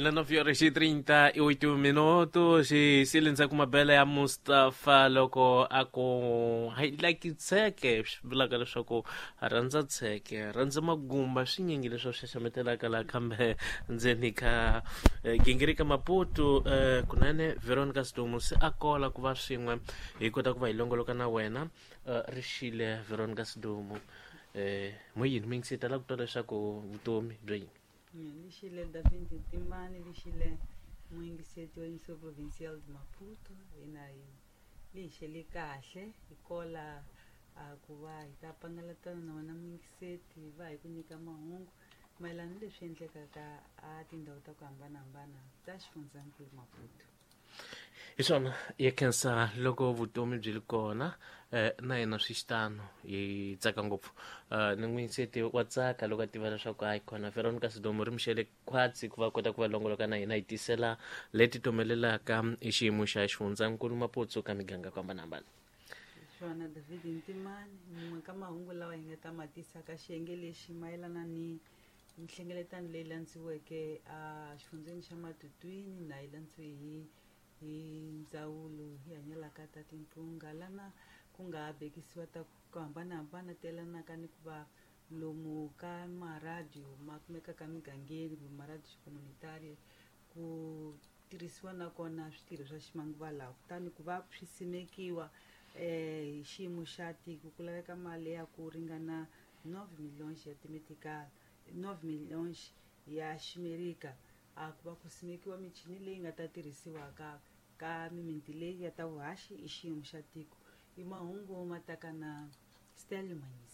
Ina 9 horas e 38 minutos e sile ndzhaku mabele ya Mustafa loko a ku I like tsheke, swi vulaka leswaku a rhandza tsheke, rhandza magumba, swinyingi leswi a swi xaxametelaka laha kambe ndzeni ka gingirika Maputo. Kunene Veronica Sidumo se a kola ku va swin'we hi kota ku va hi longoloka na wena. Rixile Veronica Sidumo, mo yini mi ngi tala ku twa leswaku vutomi byo yini? Lixile David Timani, lixile muyingiseti wa Emissão Provincial de Maputo, hina hi lixele kahle hi kola a ku va hi ta pangalatana na wena muyingiseti, va hi ku nyika mahungu mayelana ni leswi endlekaka a tindhawu ta ku hambanahambana ta xifundzankulu Maputo. Hi swona, ya khensa loko vutomi byi ri kona, na hina swi xitano hi tsaka ngopfu. Ni n'winseti wa tsaka loko a tiva leswaku hayi khona Veronica Sidomo ri mixele khwatsi ku va kota ku va longoloka na hina hi tisela leti tomelelaka hi xiyimo xa xifundzankulu Maputo ka miganga ku hambanahambana. Swona David Ntimani, mun'we ka mahungu lawa hi nga ta ma tisa ka xiyenge lexi mayelana ni nhlengeletano leyi landziweke a xifundzeni xa Matutwini na yi landziwe hi ndzawulo yi hanyelaka ta timpunga, lana ku nga bekisiwa ta ku hambanahambana ti yelanaka ni ku va lomu ka maradiyo ma kumekaka migangeni kumbe maradiyo communitario ku tirhisiwa na kona switirho swa ximanguva lawa, kutani ku va swi simekiwa hi xiyimo xa tiko ku laveka mali ya ku ringana 9 milhões ya timetical, 9 milhões ya ximerika, a ku va ku simekiwa michini leyi nga ta tirhisiwaka ka mimiti leyi ya ta vuhaxi hi xiyimo xa tiko. I mahungu ma taka na Stelio Manyisa.